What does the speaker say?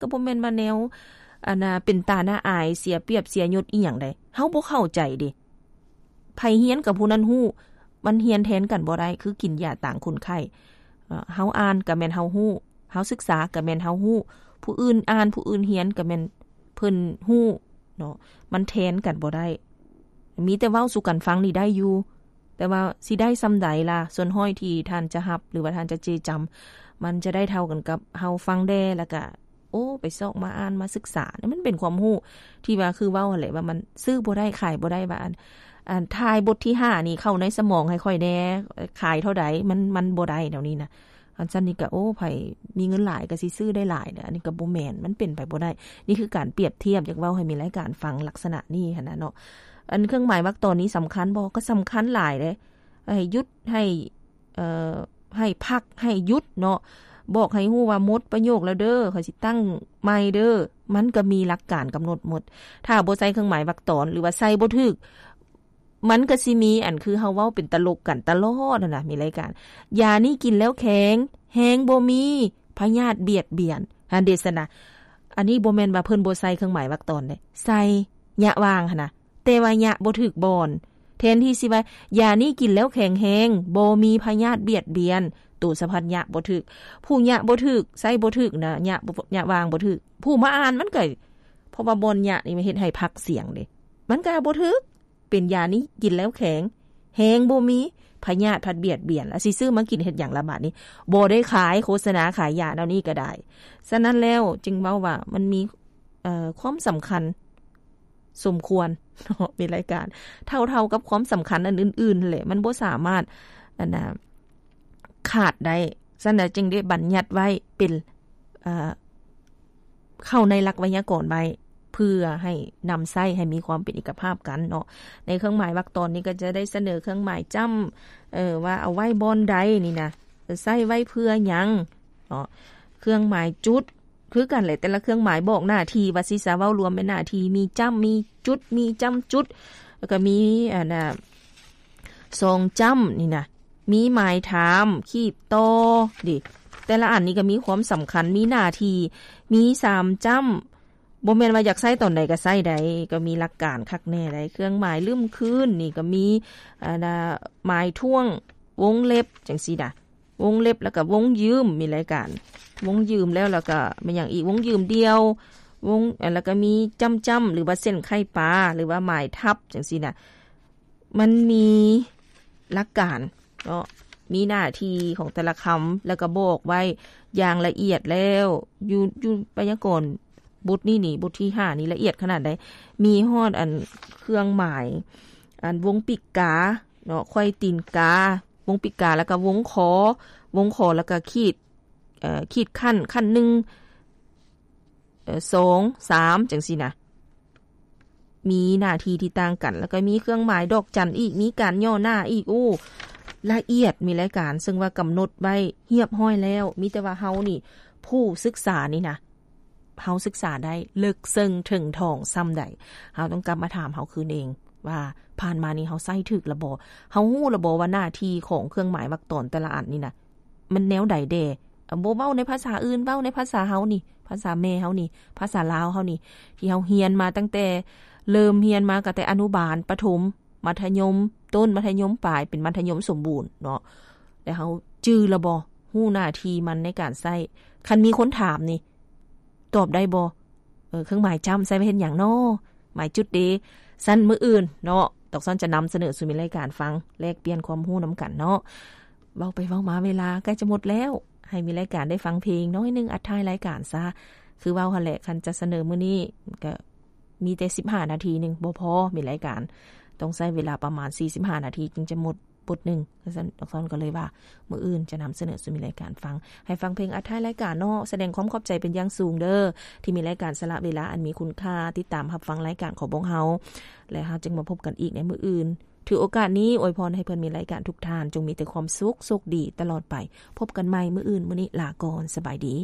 ກໍບໍ່ແມ່ນວ່າແນວ ອັນນ່າ ເປັນຕາໜ້າອາຍ ເສຍປຽບເສຍຍົດອີ່ຫຍັງໃດ. ເຮົາບໍ່ເຂົ້າໃຈເດ. ໃຜຮຽນກັບຜູ້ນັ້ນຮູ້, ມັນຮຽນແທນກັນບໍ່ໄດ້ ຄືກິນຢາຕາງຄົນໄຂ້. ເອີ ເຮົາອ່ານກໍແມ່ນເຮົາຮູ້, ເຮົາສຶກສາກໍແມ່ນເຮົາຮູ້, ຜູ້ອື່ນອ່ານ ຜູ້ອື່ນຮຽນກໍແມ່ນເພິ່ນຮູ້ເນາະ, ມັນແທນກັນບໍ່ໄດ້. ມີແຕ່ເວົ້າສູ່ກັນຟັງນີ້ໄດ້ຢູ່, ແຕ່ວ່າຊິໄດ້ສ່ຳໃດລະ? ສ່ວນຮ້ອຍທີ່ທ່ານຈະຮັບ ຫຼືວ່າທ່ານຈະເຈຈຳ ມັນຈະໄດ້ເທົ່າກັນກັບເຮົາຟັງແດ່ ແລ້ວກະ ໂອ້ ໄປຊອກມາອ່ານມາສຶກສາ. ມັນເປັນຄວາມຮູ້ທີ່ວ່າ ຄືເວົ້າຫັ້ນແຫຼະ ວ່າມັນຊື້ບໍ່ໄດ້ຂາຍບໍ່ໄດ້ ວ່າ ອັນ ອັນ ຖ່າຍບົດທີຫ້ານີ້ເຂົ້າໃນສະໝອງໃຫ້ຂ້ອຍແດ່ ຂາຍເທົ່າໃດ? ມັນ ມັນບໍ່ໄດ້ແນວນີ້ນະ. ອັນຊັ້ນນີ້ກະ ໂອ້ ໃຜມີເງິນຫຼາຍກະຊິຊື້ໄດ້ຫຼາຍເດ້. ອັນນີ້ກະບໍ່ແມ່ນ, ມັນເປັນໄປບໍ່ໄດ້. ນີ້ຄືການປຽບທຽບ, ຢາກເວົ້າໃຫ້ມີລາຍການຟັງລັກສະນະນີ້ຫັ້ນນະເນາະ. ອັນເຄື່ອງໝາຍວรรคตอนນີ້ສຳຄັນບໍ່? ກໍສຳຄັນຫຼາຍເດ້. ໃຫ້ຢຸດ, ໃຫ້ ເອີ ໃຫ້ພັກ, ໃຫ້ຢຸດເນາະ. ບອກໃຫ້ຮູ້ວ່າໝົດປະໂຫຍກແລ້ວເດີ, ຂ້ອຍຊິຕັ້ງໃໝ່ເດີ. ມັນກໍມີຫຼັກການກຳນົດໝົດ. ຖ້າບໍ່ໃສ່ເຄື່ອງໝາຍວรรคตอน ຫຼືວ່າໃສ່ບໍ່ຖືກ, ມັນກໍຊິມີ ອັນ ຄືເຮົາເວົ້າເປັນຕະຫຼົກກັນຕະຫຼອດຫັ້ນນະ, ມີລາຍການ ຢານີ້ກິນແລ້ວແຂງ, ແຮງບໍ່ມີ, ພະຍາດບຽດບຽນ. ຫັ້ນເດຊັ້ນນະ. ອັນນີ້ບໍ່ແມ່ນວ່າເພິ່ນບໍ່ໃສ່ເຄື່ອງໝາຍວรรคตอนເດ້, ໃສ່ ຍະຫວ່າງຫັ້ນນະ, ແຕ່ວ່າຍະບໍ່ຖືກບ່ອນ. ແທນທີ່ຊິວ່າ ຢານີ້ກິນແລ້ວແຂງແຮງ, ບໍ່ມີພະຍາດບຽດບຽນ, ໂຕສະພັດຍະບໍ່ຖືກ. ຜູ້ຍະບໍ່ຖືກ, ໃສ່ບໍ່ຖືກນະ, ຍະ ຍະຫວ່າງບໍ່ຖືກ. ຜູ້ມາອ່ານມັນກໍ ເພາະວ່າບ່ອນຍະນີ້ມັນເຮັດໃຫ້ພັກສຽງເດ້, ມັນກໍບໍ່ຖືກ. ເປັນຢານີ້ກິນແລ້ວແຂງ, ແຮງບໍ່ມີ, ພະຍາດພັດບຽດບຽນ, ລະຊິຊື້ມາກິນເຮັດຫຍັງລະບາດນີ້? ບໍ່ໄດ້ຂາຍ, ໂຄສະນາຂາຍຢາແນວນີ້ກໍໄດ້. ສະນັ້ນແລ້ວຈຶ່ງເວົ້າວ່າມັນມີ ເອີ ຄວາມສຳຄັນສົມຄວນເນາະ, ມີລາຍການ ເທົ່າໆກັບຄວາມສຳຄັນອັນອື່ນໆແຫຼະ, ມັນບໍ່ສາມາດ ອັນນ່າ ຂາດໄດ້. ສະນັ້ນແຫຼະຈຶ່ງໄດ້ບັນຍັດໄວ້ເປັນ ເອີ ເຂົ້າໃນຫຼັກໄວຍາກອນໄວ້ ເພື່ອໃຫ້ນຳໃຊ້ໃຫ້ມີຄວາມເປັນເອກະພາບກັນເນາະ. ໃນເຄື່ອງໝາຍວາກຕອນນີ້ກໍຈະໄດ້ສະເໜີເຄື່ອງໝາຍຈ້ຳ ເອີ ວ່າເອົາໄວ້ບ່ອນໃດນີ້ນະ, ໃຊ້ໄວ້ເພື່ອຫຍັງເນາະ. ເຄື່ອງໝາຍຈຸດຄືກັນແຫຼະ, ແຕ່ລະເຄື່ອງໝາຍບອກໜ້າທີ່ ວ່າຊິສາເວົ້າລວມແມ່ນໜ້າທີ່, ມີຈ້ຳ ມີຈຸດ ມີຈ້ຳຈຸດ, ແລ້ວກໍມີ ອັນນ່າ ສອງຈ້ຳນີ້ນະ, ມີໝາຍຖາມ ຂີດຕໍ່ເດ. ແຕ່ລະອັນນີ້ກໍມີຄວາມສຳຄັນ, ມີໜ້າທີ່, ມີສາມຈ້ຳ, ບໍ່ແມ່ນວ່າຢາກໃຊ້ຕອນໃດກໍໃຊ້ໄດ້, ກໍມີຫຼັກການຄັກແນ່ໄດ໋. ເຄື່ອງໝາຍລຶ້ມຄືນນີ້ກໍມີ ອັນນ່າ ໝາຍຖ້ວງ ວົງເລັບ ຈັ່ງຊີ້ນະ, ວົງເລັບ ແລ້ວກໍວົງຢືມ, ມີລາຍການ ວົງຢືມແລ້ວ ແລ້ວກໍແມ່ນຫຍັງອີກ? ວົງຢືມດ່ຽວ, ວົງ ແລ້ວກໍມີຈ້ຳໆ ຫຼືວ່າເສັ້ນໄຂ່ປາ ຫຼືວ່າໝາຍທັບ ຈັ່ງຊີ້ນະ. ມັນມີຫຼັກການເນາະ, ມີໜ້າທີ່ຂອງແຕ່ລະຄຳ ແລ້ວກໍບອກໄວ້ຢ່າງລະອຽດແລ້ວ. ຢູ່ ຢູ່ໄວຍາກອນບົດນີ້ນີ້, ບົດທີຫ້ານີ້ລະອຽດຂະໜາດໃດ, ມີຮອດອັນເຄື່ອງໝາຍ ອັນວົງປີກກາເນາະ, ໄຂວ້ຕີນກາ, ວົງປີກກາ ແລ້ວກໍວົງຄໍ, ວົງຄໍ ແລ້ວກໍຂີດ ເອີ ຂີດຂັ້ນ, ຂັ້ນໜຶ່ງ ເອີ ສອງ ສາມ ຈັ່ງຊີ້ນະ, ມີໜ້າທີ່ທີ່ຕ່າງກັນ, ແລ້ວກໍມີເຄື່ອງໝາຍດອກຈັນອີກ, ມີການຫຍໍ້ໜ້າອີກ. ໂອ້ ລະອຽດ, ມີລາຍການ ເຊິ່ງວ່າກຳນົດໄວ້ຮຽບຮ້ອຍແລ້ວ, ມີແຕ່ວ່າເຮົານີ້ ຜູ້ສຶກສານີ້ນະ ເຮົາສຶກສາໄດ້ເລິກເຊິ່ງເຖິງຖອງສ່ຳໃດ, ເຮົາຕ້ອງກັບມາຖາມເຮົາຄືນເອງວ່າ ຜ່ານມານີ້ເຮົາໃຊ້ຖືກລະບໍ່? ເຮົາຮູ້ລະບໍ່ວ່າໜ້າທີ່ຂອງເຄື່ອງໝາຍວາກຕອນແຕ່ລະອັນນີ້ນະ ມັນແນວໃດແດ່? ບໍ່ເວົ້າໃນພາສາອື່ນ, ເວົ້າໃນພາສາເຮົານີ້, ພາສາແມ່ເຮົານີ້, ພາສາລາວເຮົານີ້ ທີ່ເຮົາຮຽນມາຕັ້ງແຕ່ ເລີ່ມຮຽນມາກໍແຕ່ອະນຸບານ, ປະຖົມ, ມັດທະຍົມຕົ້ນ, ມັດທະຍົມປາຍ, ເປັນມັດທະຍົມສົມບູນເນາະ. ແລ້ວເຮົາຈື່ລະບໍ່? ຮູ້ໜ້າທີ່ມັນໃນການໃຊ້. ຄັນມີຄົນຖາມນີ້ ຕອບໄດ້ບໍ່? ເອີ ເຄື່ອງໝາຍຈ້ຳໃຊ້ໄວ້ເຮັດຫຍັງນໍ? ໝາຍຈຸດເດ? ຊັ້ນມື້ອື່ນເນາະ, ຕອກຊ້ອນຈະນຳສະເໜີສູ່ມີລາຍການຟັງ, ແລກປ່ຽນຄວາມຮູ້ນຳກັນເນາະ. ເວົ້າໄປເວົ້າມາເວລາໃກ້ຈະໝົດແລ້ວ, ໃຫ້ມີລາຍການໄດ້ຟັງເພງໜ້ອຍໜຶ່ງ, ອັດທ້າຍລາຍການຊະ. ຄືເວົ້າຫັ້ນແຫຼະ, ຄັນຈະສະເໜີມື້ນີ້ກໍມີແຕ່ສິບຫ້ານາທີໜຶ່ງ ບໍ່ພໍ, ມີລາຍການຕ້ອງໃຊ້ເວລາປະມານສີ່ສິບຫ້ານາທີຈຶ່ງຈະໝົດ ບົດໜຶ່ງ. ຊັ້ນ ຕອກຊ້ອນກໍເລີຍວ່າ ມື້ອື່ນຈະນຳສະເໜີສູ່ມີລາຍການຟັງ, ໃຫ້ຟັງເພງອັດທ້າຍລາຍການເນາະ. ສະແດງຄວາມຂອບໃຈເປັນຢ່າງສູງເດີ ທີ່ມີລາຍການສະຫຼະເວລາອັນມີຄຸນຄ່າ ຕິດຕາມຮັບຟັງລາຍການຂອງພວກເຮົາ, ແລະ ເຮົາຈຶ່ງມາພົບກັນອີກໃນມື້ອື່ນ. ຖືໂອກາດນີ້ອວຍພອນໃຫ້ເພື່ອນມີລາຍການທຸກທ່ານ ຈົ່ງມີແຕ່ຄວາມສຸກ, ໂຊກດີຕະຫຼອດໄປ. ພົບກັນໃໝ່ມື້ອື່ນ, ມື້ນີ້ລາກ່ອນ, ສະບາຍດີ.